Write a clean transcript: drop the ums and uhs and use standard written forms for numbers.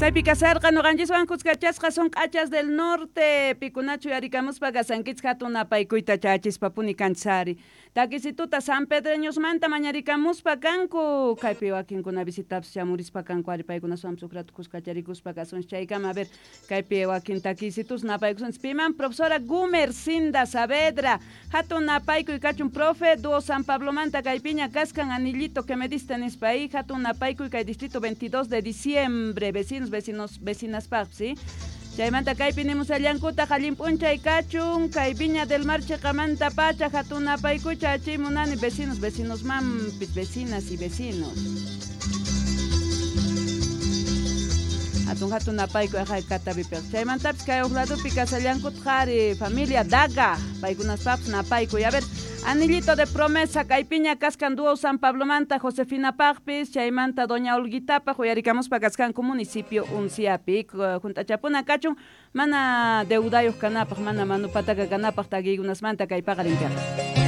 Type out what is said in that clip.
Chaypi kasarqa ñuqanchiswan kuskachasqa son Q'achas del Norte, pikunachu yarikamuspa kasankichik hatun napaykuyta chachispapuni kanchis. Takisituta San Pedreñosmanta mañarikamuspa kanku, kaypi wakinkuna visitapis chamurispa kanku ari paykunaswanpis huk rato kuskacharikuspa kasunchik chaykama. A ver, kaypi wakin takisitus napaykusunchik piman profesora Gumercinda Saavedra, hatun napaykuy kachun profe dúo San Pablomanta kaypiña kaskan anillito que me diste nispa ahí hatun napaykuy kay distrito 22 de diciembre, vecinos, vecinos, vecinas paq, ¿sí? Chaymanta kaypi nimusallankutaq allin p'unchay kachun kay Viña del Mar chiqamanta pacha hatun napaykucha achiy munani vecinos, vecinos mampis, vecinas y vecinos. Hatun hatun napaykuy ajay katapipiq. Chaymantapis kay huk ladopi kasallankutaq ari familia Daga, paykunaspapis napaykuy. A ver, anillito de promesa kaypiña kaskan dúo San Pablomanta Josefina Paqpis, chaymanta doña Olguitapaq uyarikamuspa kaskanku municipio Unciapi. Junt'achapuna kachun mana deudayuq kanapaq, mana manupataka kanapaq takiykunasmanta kay paqarinpiqa.